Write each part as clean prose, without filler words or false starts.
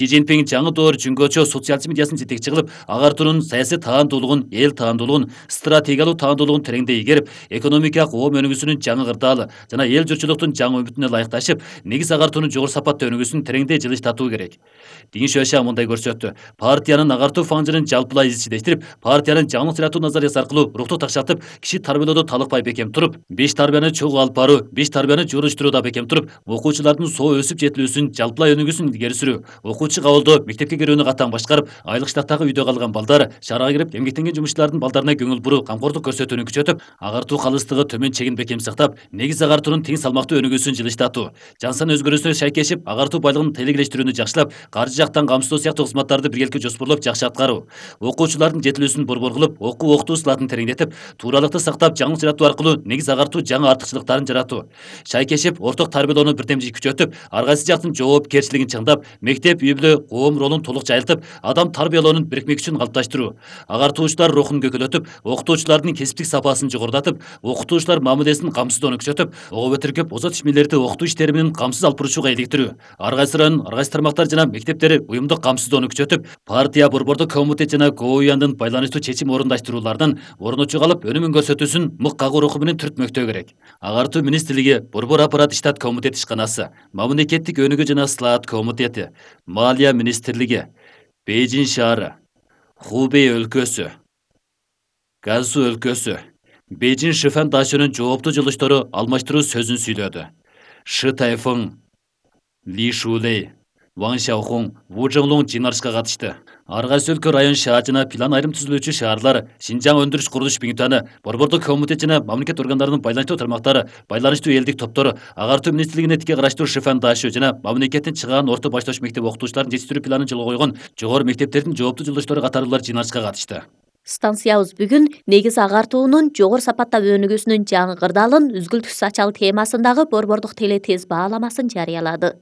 Си Цзиньпин жаңы доор жөнгөчө социализм идеясын жетекчи кылып, агартуунун саясий таандуулугун, эл таандуулугун, стратегиялуу таандуулугун тереңдей ийгерип, экономикалык оо өнүгүүсүнүн жаңы кырдаалы жана эл журтчулуктун жаңы үмүтүнө ылайыкташып, негиз агартуунун жогору сапаттуу өнүгүүсүн тереңдей жылыштатуу керек. Дин Шуэшиан мындай көрсөттү. Партиянын агартуу фаңжырын жалпылай изчилештирип, партиянын жаңылык сыйратуу назариясы аркылуу рукту такшатып, киши тарбиялоодо талыкпай бекем туруп, беш тарбияны чогуу алып баруу, беш тарбияны жууруштурууда бекем туруп, окуучулардын соо өсүп жетилүүсүн, жалпылай өнүгүүсүн илгери сүрүү, окуучу кабылдоо, мектепке кирүүнү катаң башкарып, айлык штаттагы үйдө калган балдар, шаарга кирип эмгектенген жумушчулардын балдарына көңүл буруу, камкордук көрсөтүүнү күчөтүп, агартуу калыстыгы төмөн чегин бекем сактап, негиз агартуунун тең салмактуу өнүгүүсүн жылыштатуу, жан сан өзгөрүүсүнө шайкешип, агартуу байлыгын тейлегелештирүүнү жакшылап, каржы жактан камсыздоо сыяктуу кызматтарды биргеликте жоспорлоп жакшы аткаруу, окуучулардын жетилүүсүн борбор кылып, окуу сылатын тереңдетип, тууралыкты сактап, жаңылык жаратуу аркылуу негиз агартуу жаңы артыкчылыктарын жаратуу, шайкешип, орток тарбиялоону бирдемжи күчөтүп, ар кайсы жактын жоопкерчилигин чыңдап, мектеп, үй бүлө, коом ролун толук жайылтып, адам тарбиялоонун бирикмек үчүн калыпташтыруу, агартуучулар рухун көкөлөтүп, окутуучулардын кесиптик сапасын жогорулатып, окутуучулар мамилесин камсыздоону күчөтүп, ого бетиркеп озат ишмерлерди окутуу иштеринин камсыз алып бурушууга иликтирүү, ар кайсы район, ар кайсы тармактар жана мектептери уюмдук камсыздоону күчөтүп, партия, борбордук комитет жана КООЯндын байланыштуу чечим орундаштыруулардан орночу калып, өнүмүн көрсөтүүсүн мык кагуу руху менен түртмөктөө керек. Агартуу министрлиги, борбор аппарат иштат комитет ишканасы, мамлекеттик өнүгүү жана ысылаат комитети, Малия министрлиги, Бейжин шаары, Хубей өлкөсү, Газу өлкөсү, Бейжин Шифэн дашынын жооптуу жылыштары алмаштыруу сөзүн сүйлөдү. Шы Тайфың, Ли Шулей, Ван Шаохун, Ву Жонглун жыйналышка катышты. Ар кайсы өлкө район шаар жана план айрым түзүлүүчү шаарлар, Шинжаң өндүрүш курулуш биңтаны, борбордук комитет жана мамлекет органдарынын байланыштуу тармактары, байланыштуу элдик топтору, агартуу министрлигине тике караштуу Шифэн дашы жана мамлекеттин чыгаан орто баштооч мектеп окутуучуларын жетиштирүү планын жолго койгон жогору мектептердин жооптуу жылыштары катарлуулар жыйналышка катышты. Станциябыз бүгүн негиз агартуунун жогору сапатта өнүгүүсүнүн жаңы кырдаалын үзгүлтүксүз ачалы темасындагы борбордук теле тез бааламасын жарыялады.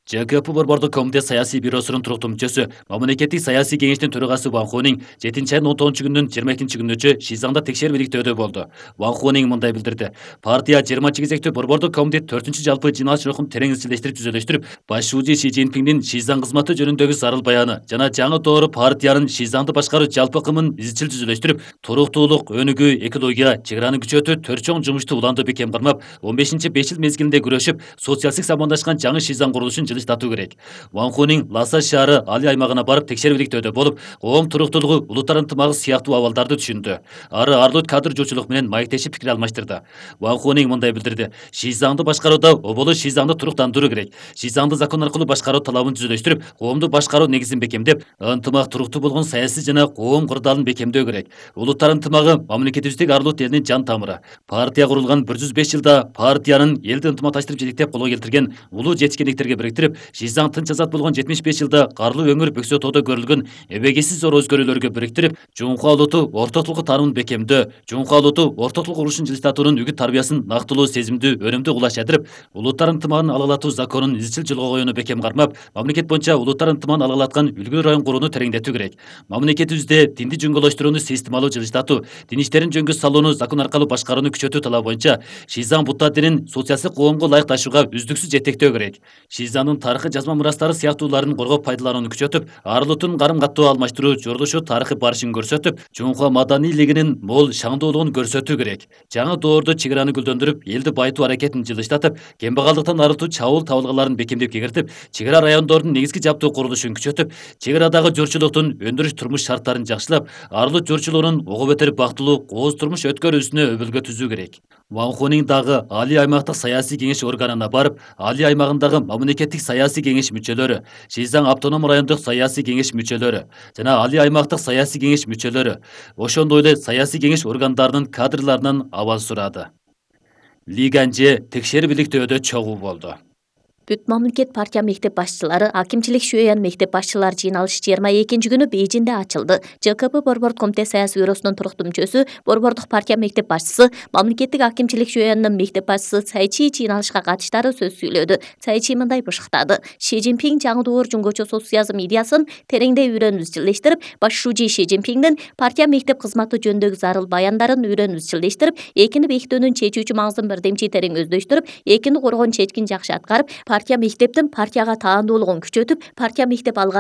ЖКП борбордук комитет саясий бюросунун туруктуу мүчөсү, мамлекеттик саясий кеңештин төрагасы Ван Хунин 7 айдын 19 күнүнүн 22 күнүнчө Шизаңда текшерүү иликтөөдө болду. Ван Хунин мындай билдирди. Партия 20 кезектүү борбордук комитет 4-чү жалпы жыйналыш рухун терең изчилештирип түзөлөштүрүп, башчы Си Цзиньпиндин Шизаң кызматы жөнүндөгү зарыл баяны жана жаңы доору партиянын Шизаңды башкаруу жалпы кымын изчил түзөлөштүрүп, туруктуулук, өнүгүү, экология, чек араны күчөтүү 4 чоң жумушту уланды бекем кармап, 15-5 жыл мезгилинде күрөшүп, социалисттик самандашкан жаңы Шизаң курулушун жылыштатуу керек. Ван Хунин Ласа шаары Али аймагына барып текшерүү иликтөөдө болуп, коом туруктуулугу, улуттар ынтымагы сыяктуу абалдарды түшүндү. Ары арлуу кадр жуучулук менен маектешип пикир алмаштырды. Ван Хунин мындай билдирди. Шизаңды башкарууда оболу Шизаңды туруктандыруу керек. Шизаңды закон аркылуу башкаруу талабын түзөлөштүрүп, коомду башкаруу негизин бекемдеп, ынтымак туруктуу болгон саясий жана коом кырдаалын бекемдөө керек. Улуттар ынтымагы мамлекетибиздеги арлуу элдин жан тамыры. Партия курулган 105 жылда партиянын элди ынтымакташтырып жетектеп колго келтирген улуу жетишкендиктерге бириктирип, Шизаң тынч азат болгон 75 жылда карлуу өңүр Бөксө тоодо көрүлгөн эбегейсиз зор өзгөрүүлөргө бириктирип, Жунхуа улуту ортотулук таанымын бекемдөө, Жунхуа улуту ортотулук урушун жылыштатуунун үгүт тарбиясын нактылуу, сезимдүү, өнүмдүү кулаш адырып, улуттар ынтымагын алгылатуу законун изчил жолго коюуну бекем кармап, мамлекет боюнча улуттар ынтымагын алгылаткан үлгүлүү район курууну тереңдетүү керек. Мамлекетибизде динди жөнгөлөштүрүүнү системалуу жылыштатуу, дин иштерин жөнгө салууну закон аркылуу башкарууну күчөтүү талабы боюнча Шизаң Будда динин социалисттик коомго ылайыкташууга үздүксүз жетектөө керек. Шизаңдын тарыхый жазма мурастары сыяктууларын коргоп пайдаланууну күчөтүп, ар улуттун карым каттоо алмаштыруу, жордошуу тарыхый барышын көрсөтүп, Жунхуа маданийлигинин мол шаңдуулугун көрсөтүү керек. Жаңы доордо чек араны гүлдөндүрүп, элди байытуу аракетин жылыштатып, кембагалдыктан арылтуу чабуул табылгаларын бекемдеп кегертип, чек ара райондордун негизги жаптуу курулушун күчөтүп, чек арадагы журчулуктун өндүрүш турмуш шарттарын жакшылап, ар улут журчулугунун ого бетер бактылуу, кооз турмуш өткөрүүсүнө өбөлгө түзүү керек. Ван Хунин дагы Али аймактык саясий кеңеш органына барып, Али аймагындагы мамлекеттик саясий кеңеш мүчөлөрү, Шизаң автоном райондук саясий кеңеш мүчөлөрү жана Али аймактык саясий кеңеш мүчөлөрү, ошондой эле саясий кеңеш органдарынын кадрларынан абал сурады. Ли Ганже текшерип иликтөөдө чогуу болду. Бүт мамлекет партия мектеп башчылары, акимчилик Шуэян мектеп башчылары жыйналышы 22 күнү Бейжинде ачылды. ЖКП борбордук комитет саясий бюросунун туруктуу мүчөсү, борбордук партия мектеп башчысы, мамлекеттик акимчилик Шуэяндын мектеп башчысы Цай Чи жыйналышка катыштары сөз сүйлөдү. Цай Чи мындай бышыктады. Си Цзиньпин жаңы доор жөнгөчө социализм идеясын тереңдей үйрөнүп изчилештирип, башчы Си Цзиньпиндин партия мектеп кызматы жөнүндөгү зарыл баяндарын үйрөнүп изчилештирип, экини бекитүүнүн чечүүчү маңызын бирдемчи терең өздөштүрүп, экини коргоон чечкин жакшы аткарып, партия мектептин партияга таандуулугун күчөтүп, партия мектеп алга